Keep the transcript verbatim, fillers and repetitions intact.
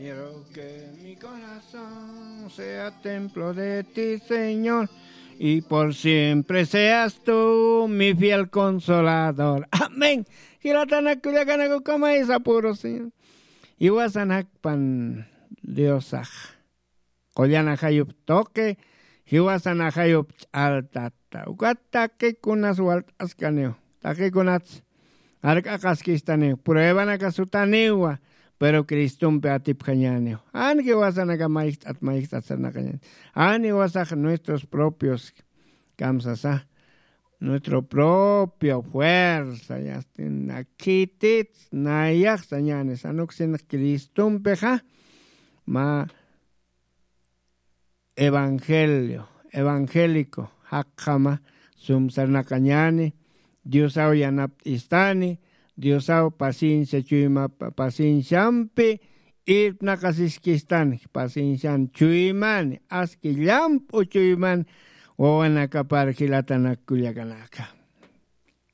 Quiero que mi corazón sea templo de ti, Señor, y por siempre seas tú mi fiel consolador. Amén. Jilatanakullakanakukama isapuru, Señor. Iwasanakpan Diosax. Qullan ajayup tuqi, jiwasan ajayup ch'altata. Ukat taqikunas walt'askaniw, taqikunats jark'aqaskistaniw, pruebanaka sutaniwa, pero Cristompi atipjañaniw. Jan jiwasanaka mayjt'at mayjt'at sarnaqañani. Jan jiwasax nuestros propios kamsasa, nuestro propio fuerza, yastin nakitit nayax sañani, sanuksin Cristompixa, ma evangelio, evangélico, jaqjama sumsarnaqañani, Diosaw yanapt'istani, Diosaw paciencia chuyma, pacienciampi irpnaqasiskistani, paciencian chuymani, aski llamp'u chuyman wawanakapar jilatanakullakanaka.